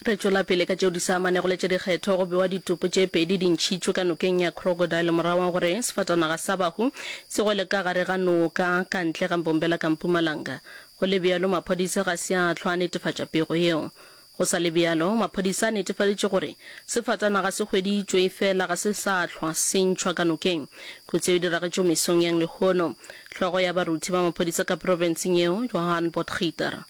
Re tšwela pele ka tšeo di sa amanego le tša dikgetho. Go bewa ditopo tše pedi di ntšhitšwe ka nokeng ya Crocodile morago ga gore sefatanaga sa bahu se gwele ka gare ga noka ka ntle ga Mbombela ka Mpumalanga. Go le bjalo, maphodisa ga se a hlwa a netefatša pego yeo. Go sa le bjalo, maphodisa a netefaditše gore sefatanaga se hweditšwe efela ga se sa hlwa se ntšhwa ka nokeng. Kotsi yeo e diragetšego mesong yang lehono. Hlogo ya baruti ba maphodisa ka profenseng yeo, Johan Potgieter,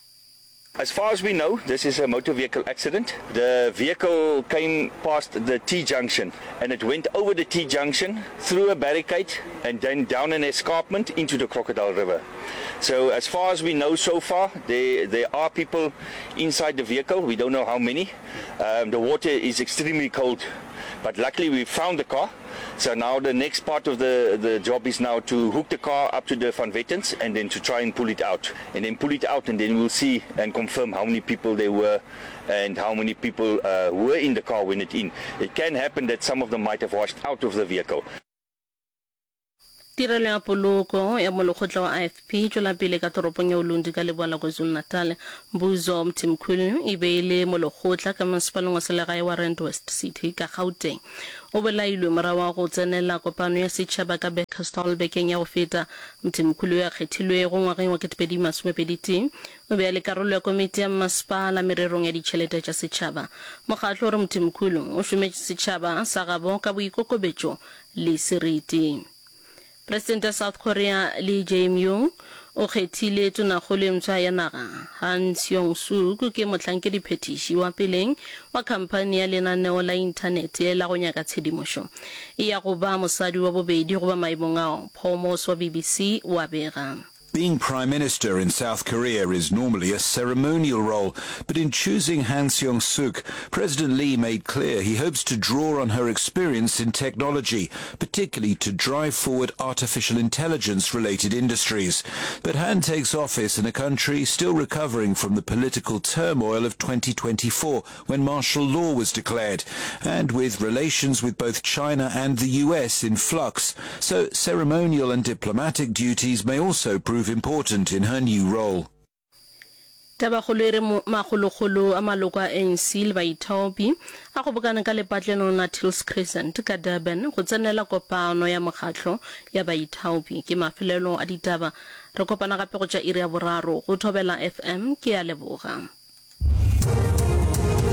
As far as we know, this is a motor vehicle accident. The vehicle came past the T-junction and it went over the T-junction through a barricade and then down an escarpment into the Crocodile River. So as far as we know so far, there, there are people inside the vehicle. We don't know how many. Um, the water is extremely cold, but luckily we found the car. So now the next part of the, the job is now to hook the car up to the Van Vettens and then to try and pull it out. And then pull it out and then we'll see and confirm how many people there were and how many people uh, were in the car when it in. It can happen that some of them might have washed out of the vehicle. Tirelo ya poloko ya molekgotla wa IFP e tšwela pele ka toropong ya Ulundi ka leboa la KwaZulu-Natal. Mbuzo Mthimkhulu e be e le molekgotla ka masepaleng wa selegae wa Rand West City ka Gauteng. O bolailwe morago ga go tsenela kopano ya setšhaba ka Bekkersdal bekeng ya go feta. Mthimkhulu yo a kgethilwego ngwageng wa 2021 o be a le karolo ya komiti ya mmasepala mererong ya ditšhelete tša setšhaba. Mokgatlo o re Mthimkhulu o šometše setšhaba sa gabo ka boikokobetšo le seriti. Presidente wa South Korea Lee Jae-myung o kgethile tonakgolo e mpsha ya naga. Han Seong-suk ke mohlankediphethiši wa peleng wa khamphani ya lenaneo la inthanete la go nyaka tshedimošo. E ya go ba mosadi wa bobedi go ba maemong ao, Paul Morse wa BBC o a bega. Being prime minister in South Korea is normally a ceremonial role, but in choosing Han Seong-suk, President Lee made clear he hopes to draw on her experience in technology, particularly to drive forward artificial intelligence-related industries. But Han takes office in a country still recovering from the political turmoil of 2024 when martial law was declared, and with relations with both China and the US in flux. So ceremonial and diplomatic duties may also prove important in her new role. Tabakgolo e re makgolokgolo a maloko a ANC le baithaopi a kgobokane ka lepatlelong la Tills Crescent ka Durban go tsenela kopano ya mokgatlo ya baithaopi. Ke mafelelo a ditaba. Re kopana gape go tša iri ya boraro go Thobela FM. Ke a leboga.